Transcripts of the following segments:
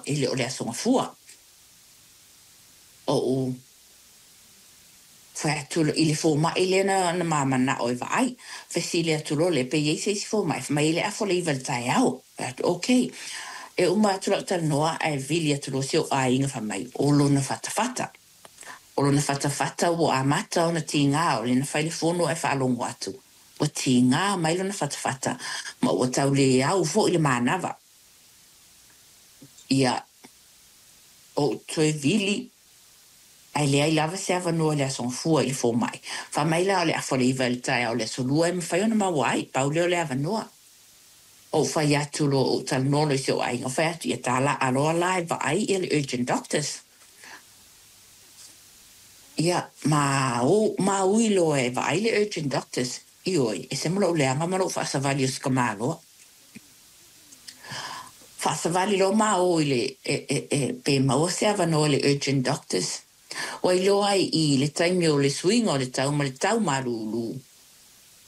E le o le Aso Gafua. Oʻu fai atu i le fomai lea na ma manao e vaai. Fesili atu loa lea pe i ai se isi fomai. Fai mai e le afa o le 9 i le taeao. Fai atu, okay. E uma atu lau talanoa ae vili atu loa si ou aiga fai mai o lona fatafata. O lona fatafata ua amata ona tigā o lea na fai le fono ae faalogo atu. Ua tigā mai lona fatafata ma ua tau le au foi le manava. Ia, ou toe vili ae leai lava se avanoa i le Aso Gafua i le fomai. Fai mai la o le afa o le 9 i le taeao o le Aso Lua e mafai ona maua ai, pau lea o le avanoa. Ou fai atu loa ou talanoa loa i si ou aiga, fai atu ia talaa loa la e vaai ia le urgent doctors. Ia, ma, o, ma ui loa e vaai le urgent doctors. Ioe, e ese ma lou leaga ma lou faasavali o si tamaloa. Faasavali loa ma o i le e pe maua se avanoa i le urgent doctors. Ua iloa ai i le taimi o le suiga o le tau ma le tau malūlū.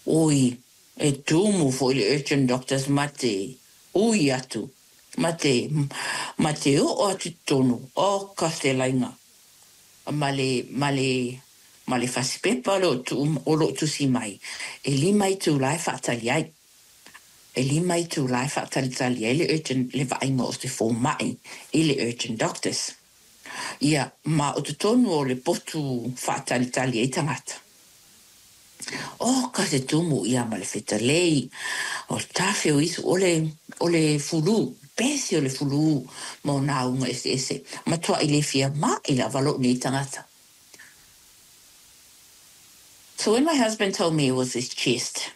Oi, e tumu foi le urgent doctors ma te ui atu, ma te oo atu i totonu o ka fetalaiga ma le fasipepa o loo tusi mai e 5 itulā e faatali ai. E 5 itulā e faatalitali ai le urgent le vaaiga o se fomai i le urgent doctors. Ia, ma o totonu o le potu faatalitali ai tagata. O ka se tumu ia ma le fetalei, o le tafe o isu o le fulu, pesi o le fulu ma o nā uga eseese. Matuai le fia ma'i lava lou nei tagata. So when my husband told me it was his chest,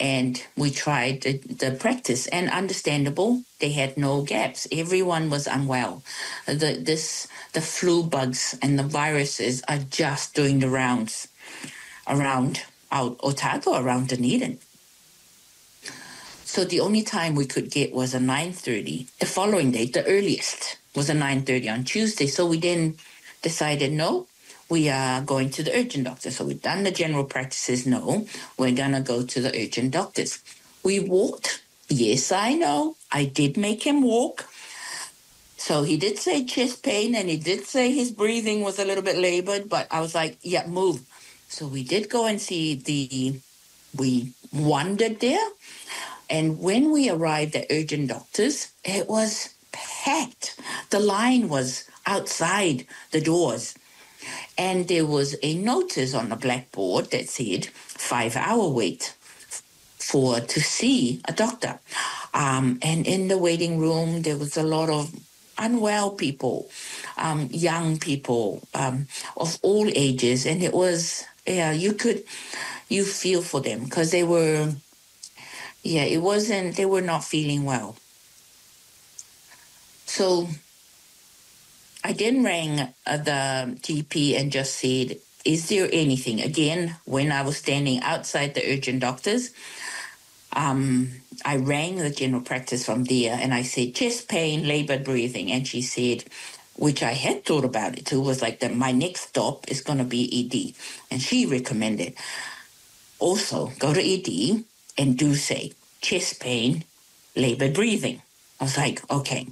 and we tried the practice, and understandable, they had no gaps. Everyone was unwell. The flu bugs and the viruses are just doing the rounds around out Otago, around Dunedin. So the only time we could get was a 9:30. The following day, the earliest was a 9:30 on Tuesday. So we then decided, no, we are going to the urgent doctor. So we've done the general practices. No, we're gonna go to the urgent doctors. We walked. Yes, I know. I did make him walk. So he did say chest pain and he did say his breathing was a little bit labored, but I was like, yeah, move. So we did go and see the, we wandered there. And when we arrived at urgent doctors, it was packed. The line was outside the doors. And there was a notice on the blackboard that said 5-hour wait for to see a doctor. And in the waiting room, there was a lot of unwell people, young people of all ages, and it was, yeah, you feel for them because they were, yeah, it wasn't, they were not feeling well. So I then rang the GP and just said, "Is there anything?" Again, when I was standing outside the urgent doctors, I rang the general practice from there and I said, "Chest pain, labored breathing." And she said, which I had thought about it too, was like that my next stop is going to be ED. And she recommended also go to ED and do say chest pain, labored breathing. I was like, okay.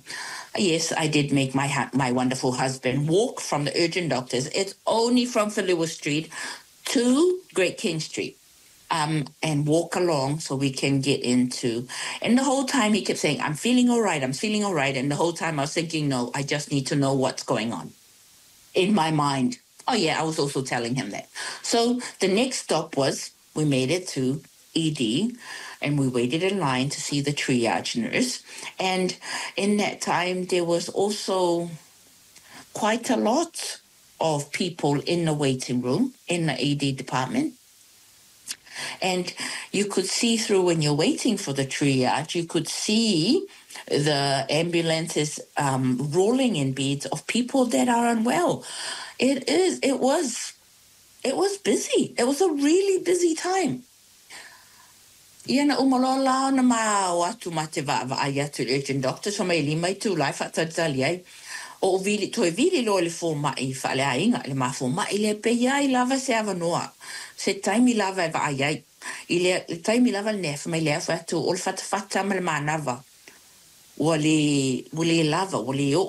Yes, I did make my wonderful husband walk from the urgent doctors. It's only from Falua Street to Great King Street. And walk along so we can get into. And the whole time he kept saying, "I'm feeling all right, I'm feeling all right." And the whole time I was thinking, no, I just need to know what's going on in my mind. Oh, yeah, I was also telling him that. So the next stop was we made it to ED and we waited in line to see the triage nurse. And in that time, there was also quite a lot of people in the waiting room in the ED department. And you could see through when you're waiting for the triage, you could see the ambulances rolling in beds of people that are unwell. It was busy. It was a really busy time. Ia na uma loa la ona ma o atu ma te vaavaai atu i le urgent doctor so mai 5 itulā e faatalitali ai. O vili, toe vili loa i le fomai faaleaiga, le mafomai lea pe iai lava se avanoa, se taimi lava e vaai ai. I le taimi lava lenei fai mai le fai atu o le fatafata ma le manava. Ua le lava, ua le oo.